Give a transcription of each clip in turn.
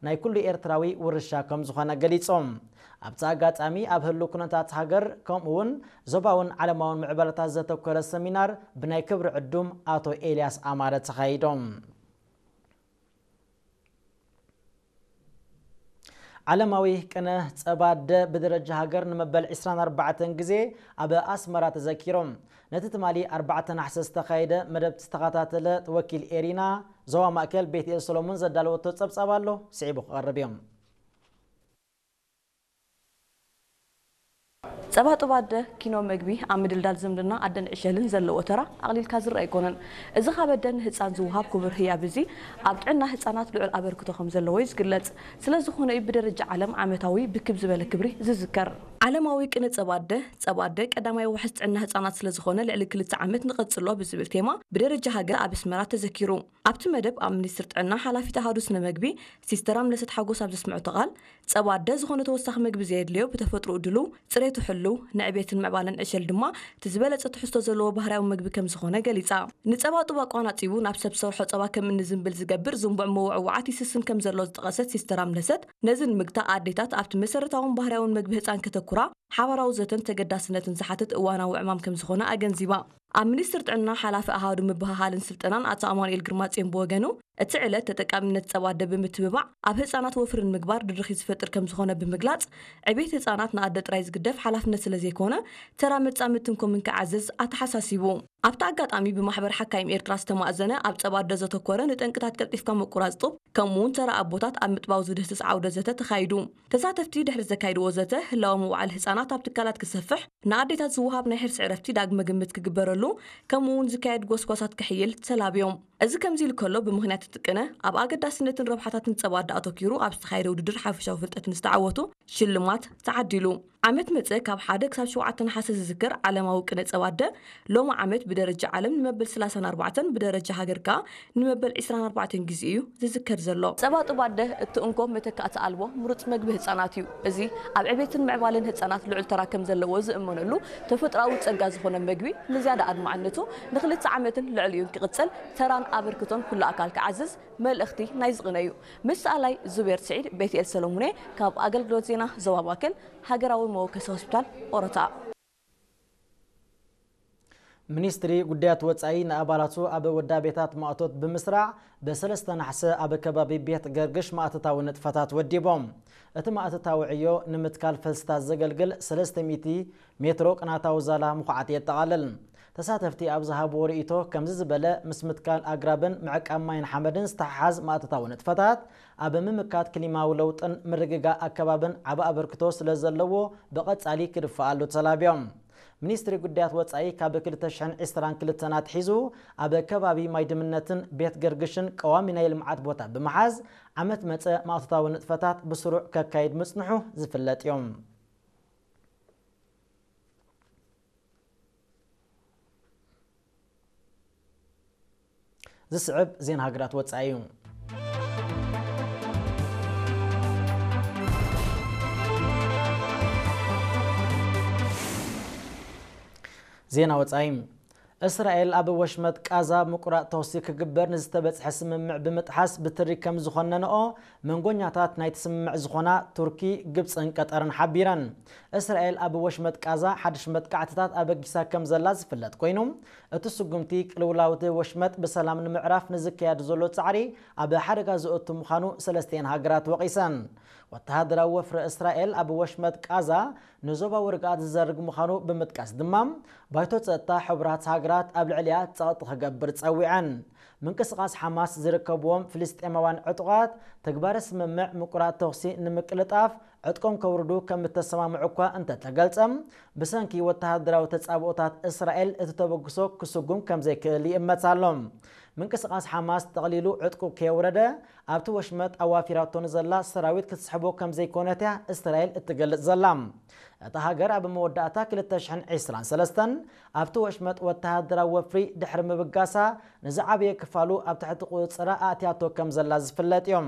ናይ ኩሉ ኤርትራዊ ውርሻ ከም ዝኾነ ገሊጾም። ኣብቲ ኣጋጣሚ ኣብ ህሉ ኩነታት ሃገር ከምኡ እውን ዞባውን ዓለማውን ምዕባለታት ዘተኮረ ሰሚናር ብናይ ክብሪ ዕዱም ኣቶ ኤልያስ ኣማረ ተኻይዶም። ዓለማዊ ቅነ ጸባ ኣደ ብደረጃ ሃገር ንመበል ዕስራን ኣርባዕተን ግዜ ኣብ ኣስመራ ተዘኪሮም። ነቲ ትማሊ ኣርባዕተ ናሕሰ ዝተኻየደ መደብ ዝተኸታተለ ወኪል ኤሪና ዞባ ማእከል ቤትኤል ሰሎሞን ዘዳለወቶ ጸብጻብ ኣሎ፣ ስዒቡ ክቐርብ እዮም። ጸባ ጡብ ኣደ ኪኖ መግቢ ኣብ ምድልዳል ዝምድና ኣደን ዕሸልን ዘለዎ ተራ ኣቕሊልካ ዝረኣ ኣይኮነን። እዚ ካብ ኣደ ንህጻን ዝወሃብ ክቡር ህያብ እዚ ኣብ ጥዕና ህጻናት ልዑል ኣበርክቶ ከም ዘለዎ እዩ ዝግለጽ። ስለ ዝኾነ እዩ ብደረጃ ዓለም ዓመታዊ ብክብ ዝበለ ክብሪ ዝዝከር። ዓለማዊ ቅነ ጸባ ኣደ፣ ጸባ ኣደ ቀዳማይ ዋሕስ ጥዕና ህጻናት ስለ ዝኾነ ልዕሊ ክልተ ዓመት ንቐጽሎ ብዝብል ቴማ ብደረጃ ሃገር ኣብ ኣስመራ ተዘኪሩ። ኣብቲ መደብ ኣብ ሚኒስትር ጥዕና ሓላፊት ኣሃዱ ስነ መግቢ ሲስተር ኣምለሰት ሓጎስ ኣብ ዘስምዐቶ ቃል፣ ጸባ ኣደ ዝኾነ ተወሳኺ መግቢ ዘየድልዮ ብተፈጥሮኡ ድሉው፣ ጽሬቱ ሕሉው፣ ንዕቤትን ምዕባለን ዕሸል ድማ እቲ ዝበለጸ ትሕዝቶ ዘለዎ ባህርያዊ መግቢ ከም ዝኾነ ገሊጻ። ንጸባ ጡብ ኣቋናጺቡ ናብ ሰብ ዝሰርሖ ጸባ ከም እኒ ዝንብል ዝገብር ዝንቡዕ ምውዕዋዓት ይስስን ከም ዘሎ ዝጠቐሰት ሲስተር ኣምለሰት፣ ነዚ ንምግታእ ኣዴታት ኣብቲ መሰረታውን ባህርያውን መግቢ ህጻን ከተኩራ ሓባራዊ ዘተን ተገዳስነትን ዝሓትት እዋናዊ ዕማም ከም ዝኾነ ኣገንዚባ። ኣብ ሚኒስትር ጥዕና ሓላፊ ኣሃዱ ምብህሃልን ስልጠናን ኣቶ ኣማኑኤል ግርማጽዮን ብወገኑ፣ እቲ ዕለት ተጠቃምነት ጸባ ኣደ ብምትብባዕ ኣብ ህጻናት ወፍሪ ንምግባር ድርኺት ዝፈጥር ከም ዝኾነ ብምግላጽ፣ ዕቤት ህጻናት ንኣደ ጥራይ ዝግደፍ ሓላፍነት ስለ ዘይኮነ፣ ተራ መጻምድትን ኮምን ክዓዝዝ ኣተሓሳሲቡ። ኣብቲ ኣጋጣሚ ብማሕበር ሓካይም ኤርትራ ዝተማእዘነ ኣብ ጸባ ኣደ ዘተኮረ ንጠንቅታት ቀልጢፍካ ምቁራጽ ጡብ፣ ከምኡ እውን ተራ ኣቦታት ኣብ ምጥባው ዝድህስስ ዓውደ ዘተ ተኻይዱ። ተሳተፍቲ ድሕሪ ዘካይድዎ ዘተ፣ ህላወ ምውዓል ህጻናት ኣብ ትካላት ክሰፍሕ፣ ንኣዴታት ዝወሃብ ናይ ሕርሲ ዕረፍቲ ዳግመ ግምት ክግበረሉ፣ ከምኡ እውን ዝካየድ ጎስጓሳት ክሕይል ተላብዮም። እዚ ከምዚ ኢሉ ከሎ፣ ብምኽንያት እቲ ቅነ ኣብ ኣገዳስነትን ረብሓታትን ጸባ ኣደ ኣተኪሩ ኣብ ዝተኻየደ ውድድር ሓፈሻዊ ፍልጠት ንዝተዓወቱ ሽልማት ተዓዲሉ። ዓመት መጸ ካብ ሓደ ክሳብ ሸውዓተ ነሓሰ ዝዝከር ዓለማዊ ቅነ ጸባ ኣደ፣ ሎሚ ዓመት ብደረጃ ዓለም ንመበል ሰላሳን ኣርባዕተን፣ ብደረጃ ሃገር ከኣ ንመበል ዕስራን ኣርባዕተን ግዜ እዩ ዝዝከር ዘሎ። ጸባ ጡብ ኣደ እቲ እንኮ መተካእቲ ኣልቦ ምሩጽ መግቢ ህጻናት እዩ። እዚ ኣብ ዕቤትን ምዕባለን ህጻናት ልዑል ተራ ከም ዘለዎ ዝእመነሉ ተፈጥሮኣዊ ጸጋ ዝኾነ መግቢ ንዝያዳ ኣድማዕነቱ ንኽልተ ዓመትን ልዕሊኡን ክቕጽል ተራን ኣበርክቶን ኩሉ ኣካል ክዓዝዝ መልእኽቲ ናይዚ ቅነ እዩ። ምስ ሰኣላይ ዙቤር ስዒድ፣ ቤትኤል ሰለሙኔ ካብ ኣገልግሎት ዜና ዞባ ማእከል፣ ሃገራዊ መወከሲ ሆስፒታል ኦሮታ። ሚኒስትሪ ጉዳያት ወጻኢ ንኣባላቱ ኣብ ወዳቤታት ማእቶት ብምስራዕ ብሰለስተ ናሕሰ ኣብ ከባቢ ቤት ገርግሽ ማእተታዊ ንጥፈታት ወዲቦም። እቲ ማእተታዊ ዕዮ ንምትካል ፈልስታት ዘገልግል ሰለስተ ሚእቲ ሜትሮ ቅናታዊ ዛላ ምኹዓት የጠቓልል። ተሳተፍቲ ኣብ ዝሃብዎ ርእይቶ ከምዚ ዝበለ ምስ ምትካል ኣግራብን ምዕቃብ ማይን ሓመድን ዝተሓሓዝ ማእተታዊ ንጥፈታት ኣብ ምምካት ክሊማዊ ለውጥን ምርግጋእ ኣከባብን ዓቢ ኣበርክቶ ስለ ዘለዎ ብቐጻሊ ክድፈኣሉ ተላብዮም። ሚኒስትሪ ጉዳያት ወጻኢ ካብ ክልተ ሽሕን ዕስራን ክልተን ኣትሒዙ ኣብ ከባቢ ማይ ድምነትን ቤት ገርግሽን ቀዋሚ ናይ ልምዓት ቦታ ብምሓዝ ዓመት መጸ ማእቶታዊ ንጥፈታት ብስሩዕ ከካይድ ምጽንሑ ዝፍለጥ እዩ። ዝስዕብ ዜና ሃገራት ወጻኢ እዩ። ዜና ወጻኢ። እስራኤል ኣብ ወሽመጥ ቃዛ ምቁራጽ ተኹሲ ክግበር ንዝተበጽሐ ስምምዕ ብምጥሓስ ብትሪ ከም ዝኾነንኦ መንጎኛታት ናይቲ ስምምዕ ዝኾና ቱርኪ፣ ግብጽን ቀጠርን ሓቢረን። እስራኤል ኣብ ወሽመጥ ቃዛ ሓድሽ መጥቃዕትታት ኣበጊሳ ከም ዘላ ዝፍለጥ ኮይኑ፣ እቲ ስጉምቲ ቅልውላውቲ ወሽመጥ ብሰላም ንምዕራፍ ንዝካየድ ዘሎ ጻዕሪ ኣብ ሓደጋ ዘእቱ ምዃኑ ሰለስቲኤን ሃገራት ወቒሰን። ወተሃደራዊ ወፍሪ እስራኤል ኣብ ወሽመጥ ቃዛ ንዞባዊ ርግኣት ዝዘርግ ምዃኑ ብምጥቃስ ድማ፣ ባይቶ ጸጥታ ሕቡራት ሃገራት ኣብ ልዕሊኣ ጸቕጢ ክገብር ጸዊዐን። ምንቅስቓስ ሓማስ ዝርከብዎም ፍልስጤማውያን ዕጡቓት፣ ተግባረ ስምምዕ ምቁራጽ ተኹሲ ንምቅልጣፍ ዕጥቆም ከውርዱ ከም እተሰማምዑ እኳ እንተተገልጸ፣ ብሰንኪ ወተሃደራዊ ተጻብኦታት እስራኤል እቲ ተበግሶ ክስጉም ከም ዘይክእል ይእመት ኣሎ። ምንቅስቓስ ሓማስ ጠቕሊሉ ዕጥቁ ከየውረደ፣ ኣብቲ ወሽመጥ ኣዋፊራቶ ንዘላ ሰራዊት ክትስሕቦ ከም ዘይኮነት እያ እስራኤል እትገልጽ ዘላ። እታ ሃገር ኣብ መወዳእታ ክልተ ሽሕን ዕስራን ሰለስተን ኣብቲ ወሽመጥ ወተሃደራዊ ወፍሪ ድሕሪ ምብጋሳ፣ ንዝዓበየ ክፋሉ ኣብ ትሕቲ ቁጽጽራ ኣእትያቶ ከም ዘላ ዝፍለጥ እዩ።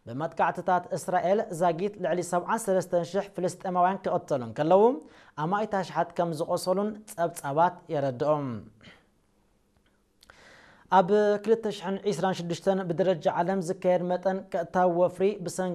ብመጥቃዕትታት እስራኤል ዛጊት ልዕሊ ሰብዓን ሰለስተን ሽሕ ፍልስጤማውያን ክቕተሉ እንከለዉ፣ ኣማኢት ኣሽሓት ከም ዝቖሰሉን ጸብጻባት የረድኦም። ኣብ ክልተ ሽሕን ዕስራን ሽዱሽተን ብደረጃ ዓለም ዝካየድ መጠን ቀጥታዊ ወፍሪ ብሰንኪ